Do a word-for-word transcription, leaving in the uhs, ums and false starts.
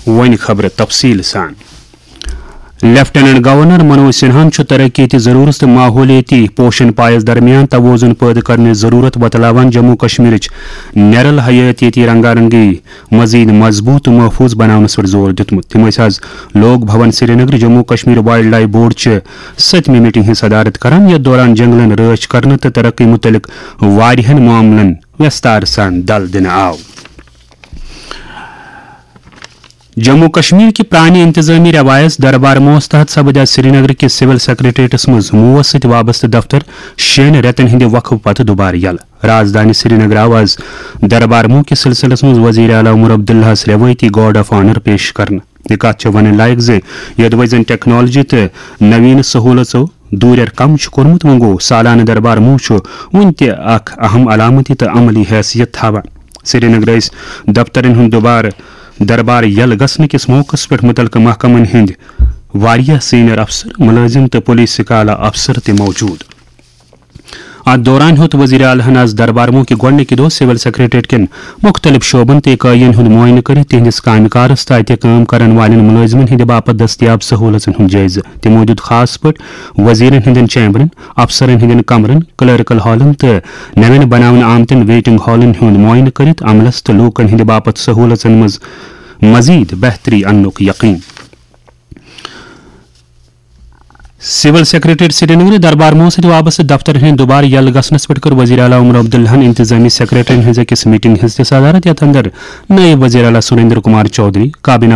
وۄنۍ خبرٕ تفصیٖل سان۔ لیفٹیننٹ گورنر منوج سنہاہن چھُ ترقیتی ضرورت تہٕ ماحولیٲتی پوشن پایس درمیان توازن پٲدٕ کرنٕچ ضرورت بتلاوان جموں کشمیرٕچ نیرل حیاتیٲتی رنگا رنگی مزید مضبوط تہٕ محفوظ بناونس پٮ۪ٹھ زور دیُتمُت۔ تِم ٲسۍ آز Lok Bhavan Srinagar Jammu Kashmir wildlife board چہِ ستمہِ میٹنگ ہٕنٛز صدارت کران، یتھ دوران جنگلن رٲچھ کرنہٕ تہٕ ترقی متعلق واریاہن معاملن وستار سان دل دِنہٕ آو۔ جموں کشمیر کہِ پرانہِ انتظامی روایژ دربار موس تحت سپدِ آز سرینگر کِس سول سیکرٹریٹس منٛز موس سۭتۍ وابستہٕ دفتر شیٚن رٮ۪تن ہٕنٛدِ وقفہٕ پتہٕ دوبارٕ یلہٕ۔ رازدانہِ سرینگر آو آز دربار موس کِس سلسلس منٛز وزیر اعلیٰ عمر عبداللہس روایتی گارڈ آف آنر پیش کرنہٕ۔ یہِ کتھ چھےٚ ونٕنۍ لایق زِ یوٚدوے زن ٹیکنالوجی تہٕ نوین سہولژو دوٗرٮ۪ر کم چھُ کوٚرمُت، وۄنۍ گوٚو سالانہٕ دربار موس چھُ وُنہِ تہِ اکھ اہم علامتی تہٕ عملی حیثیت تھاوان۔ سرینگرٕ ٲسۍ دفترن ہُنٛد دوبارٕ دربار یلہٕ گژھنہٕ کِس موقعس پٮ۪ٹھ مُتعلقہٕ محکمن ہٕنٛدۍ واریاہ سینئر افسر، مُلٲزِم تہٕ پُلیٖسٕکۍ اعلیٰ افسر تہِ موجود۔ اتھ دوران ہیوٚت وزیر اعلیٰ ہن آز دربار موس کہِ گۄڈٕنِکہِ دۄہ سول سیکرٹریٹ کٮ۪ن مُختٔلِف شعبن تہٕ اِکٲیین ہُنٛد معائنہٕ کٔرِتھ تِہنٛدِس کامہِ کارس تہٕ اتہِ کٲم کرن والٮ۪ن مُلٲزِمن ہٕنٛدِ باپتھ دٔستیاب سہوٗلژن ہُنٛد جٲیزٕ۔ تِمو دیُت خاص پٲٹھۍ وزیرن ہٕنٛدٮ۪ن چیمبرن، افسرن ہٕنٛدٮ۪ن کمرن، کلرکل ہالن تہٕ نوٮ۪ن بناونہٕ آمتٮ۪ن ویٹنگ ہالن ہُنٛد معائنہٕ کٔرِتھ عملس تہٕ لوٗکن ہٕنٛدِ باپتھ سہوٗلژن منٛز مزید بہتری اننُک یقین۔ سول سیکرٹریٹ سرینگر دربار موس سۭتۍ وابستہٕ دفترن ہٕنٛدِ دوبارٕ یلہٕ گژھنس پٮ۪ٹھ کٔر وزیر اعلیٰ عمر عبداللہن انتظامی سیکرٹریٹن ہٕنٛز أکِس میٹنگ ہٕنٛز تہِ صدارت، یتھ اندر نائب وزیر اعلیٰ سریندر کمار چودھری، کابینہ